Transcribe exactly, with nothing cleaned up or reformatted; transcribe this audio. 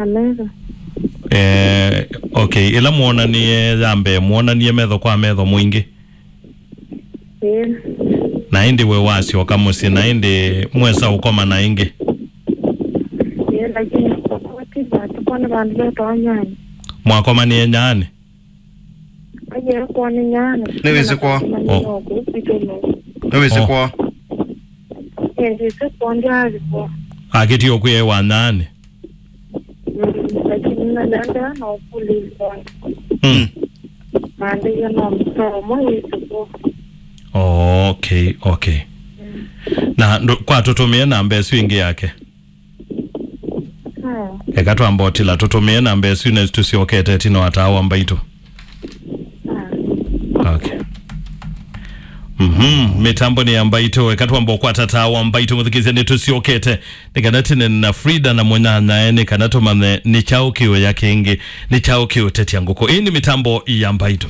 Na metho. Eh, okay. Ĩla mwonanie ya mbee, mwonanie metho kwa metho mwingĩ? Ĩĩ. Na ĩndĩ we wasyoka mũsyĩ, na ĩndĩ mwesa ũkomana ĩngĩ? Ĩĩ, lakini kwa kwati, kwa nĩ vandũ vetwa Nyani. Mwakomanie Nyani? Aye, kwa nĩ Nyani. Nĩ wĩsĩ kwoo? Oh. Nĩ wĩsĩ kwoo? Ĩĩ, ndĩsĩ kwoo, ndyathi kwoo. Akĩtie ũkwĩa wa Nyani? Mm, lakini nalenda na ũkũlĩlwa. Mm. Maandĩe no mtomo yĩsũkũ. Oh, okay, okay. Mm. Na ndo- kwa tũtũmĩe namba ĩsu ĩngĩ yake? Ah. Eka twamba ũtila, tũtũmĩe namba ĩsu nesi tũsyokete ĩtina wa taa wa mbaitũ. Ah. Okay. Mhm, mĩtambo nĩ ya mbaitũ, eka twamba ũkwata taa wa mbaitũ, mũthikĩsya, nĩ tũsyokete. Nĩ kana tene na Frida na mũnyanyae, nĩ kana tũmanye nĩ kyaũ kĩũya kĩngĩ, nĩ kyaũ kĩũtetya ngũkũ. Ĩĩ nĩ mĩtambo ya mbaitũ.